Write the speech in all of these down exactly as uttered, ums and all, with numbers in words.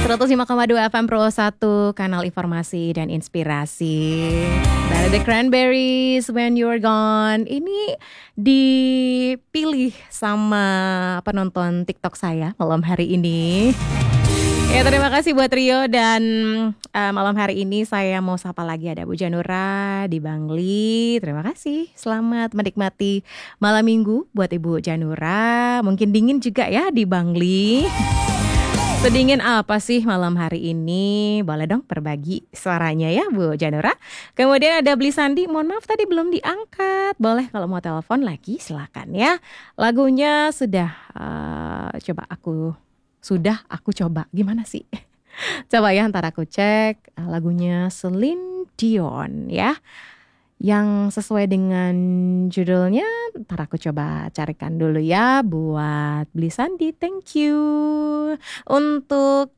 Seratus lima koma dua F M Pro satu, kanal informasi dan inspirasi. Dari The Cranberries, When You're Gone. Ini dipilih sama penonton TikTok saya malam hari ini. Ya, terima kasih buat Rio dan, eh, malam hari ini saya mau sapa lagi, ada Bu Janura di Bangli. Terima kasih. Selamat menikmati malam minggu buat Ibu Janura. Mungkin dingin juga ya di Bangli. Sedingin apa sih malam hari ini? Boleh dong berbagi suaranya ya, Bu Janura. Kemudian ada Beli Sandi, mohon maaf tadi belum diangkat. Boleh kalau mau telepon lagi, silakan ya. Lagunya sudah, eh, coba aku, sudah aku coba. Gimana sih? Coba ya, ntar aku cek. Eh, lagunya Celine Dion ya. Yang sesuai dengan judulnya, ntar aku coba carikan dulu ya buat Beli Sandi. Thank you. Untuk,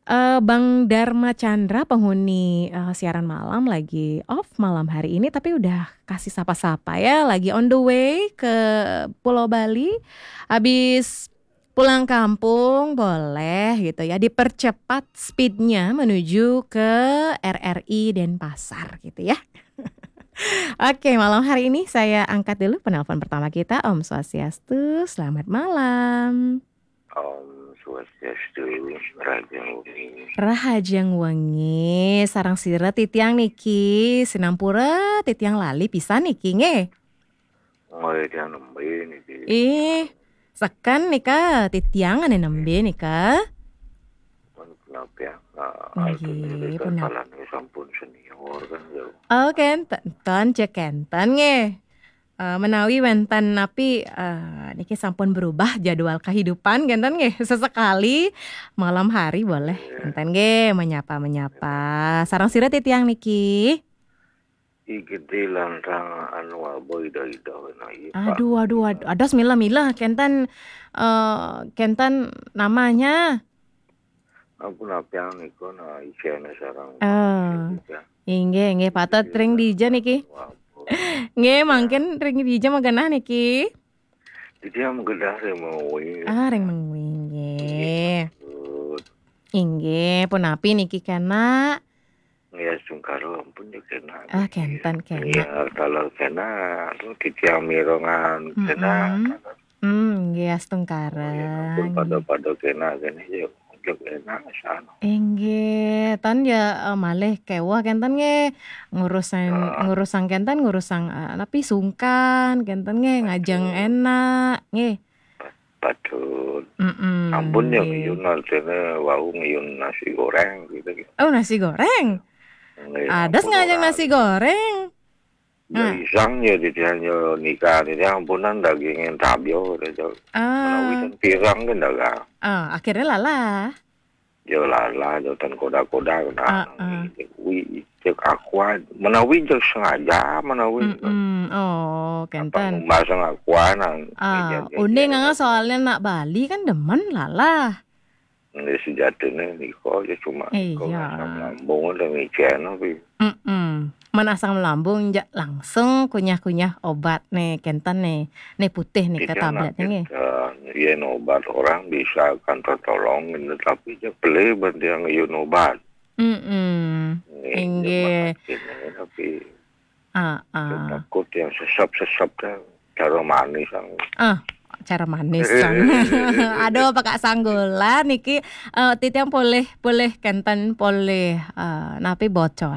eh, Bang Dharma Chandra, penghuni, eh, siaran malam, lagi off malam hari ini, tapi udah kasih sapa-sapa ya, lagi on the way ke Pulau Bali. Habis pulang kampung, boleh gitu ya, dipercepat speednya menuju ke R R I Denpasar gitu ya. Oke, malam hari ini saya angkat dulu penelpon pertama kita. Om Swastiastu, selamat malam. Om Swastiastu, Rahajeng Wengi. Rahajeng Wengi, sareng sira titiang niki, sinampura titiang lali pisan niki nggih. Nggih, titiang nembe niki. Ih, seken nika titiang ane nembe nika. Pun kenapa ya? Nah, nggih, alhamdulillah, pun sampun senior kan ya. Oh, kenten, kenten, cek kenten nggih. Eh, menawi wenten napi, eh, niki sampun berubah jadwal kehidupan, kenten nggih. Sesekali malam hari boleh, kenten nggih, menyapa-menyapa. Sareng sira titiang niki. I Gede Lantang anu Abo Ida-Ida wena, iya, Pak. Aduh, aduh, aduh, ados milah-milah, kenten, eh, kenten namanya. Ampun, apian niku, nah, ijene sareng. Eh, Pak Gede, ya. Inggih, inggih, patut ring dija niki. Anu Abo. Nggih, ya, mangkin ring dija magenah niki. Dija magenah ring Mengwi. Ah, ring Mengwi, nggih. Nggih, patut. Inggih, punapi niki kena? Nggih, astungkara ampun ya kena. Ah, kenten, kena. Ya, kalau kena, anu, titiang mirengan, kena. Mm-mm. Hmm, nggih, astungkara. Oh, ya, ampun, nggih. Pada-pada kena, kena ya, ya kena, sana. Inggih, tan ya, eh, malih kewah kenten nggih. Ngurusang, ya, ngurusang kenten, ngurusang, eh, napi sungkan, kenten nggih, ngajeng, betul, enak, nggih. Patut. Mm-mm, ampun ya, nggih. Ngiyun artine wau ngiyun nasi goreng gitu. Oh, nasi goreng? Nggih, ampun, ngajeng ora nasi goreng. Ya, ah, isang ya, titiang ya nika, titiang ampunan dagingin tabio gitu. Ah. Menawi ten pirang kan dagang. Ah, akhirnya lalah. Ya lalah, ya ten koda-koda, nah, ah, ah, kuwi cek Aqua. Menawi cek sengaja, menawi. Mm-mm. Oh, apa kenten. Ngumbasang Aqua nang, ah, meja-meja uning, ah, soalnya nak Bali kan demen lalah. Nggih, sejatine nika ya cuma, iya, nika asam lambung udah ngicen, tapi. Mm-mm. Men asam lambung, ja, langsung kunyah-kunyah obat nih, kenten nih. Nih putih nih, ke tablet nih, nggih. Yen obat orang bisa kan tertolong, ini tapi ya beli ben dia ngiyun obat. Mm-mm. Nggih, inggih. Ya, makasih, tapi ah, ah, takut yang sesep-sesep kan cara manis, ang. Ah, cara manis, ang. Aduh, apa Kak Sanggulan niki, eh, titiang polih, polih kenten, polih, eh, napi bocor.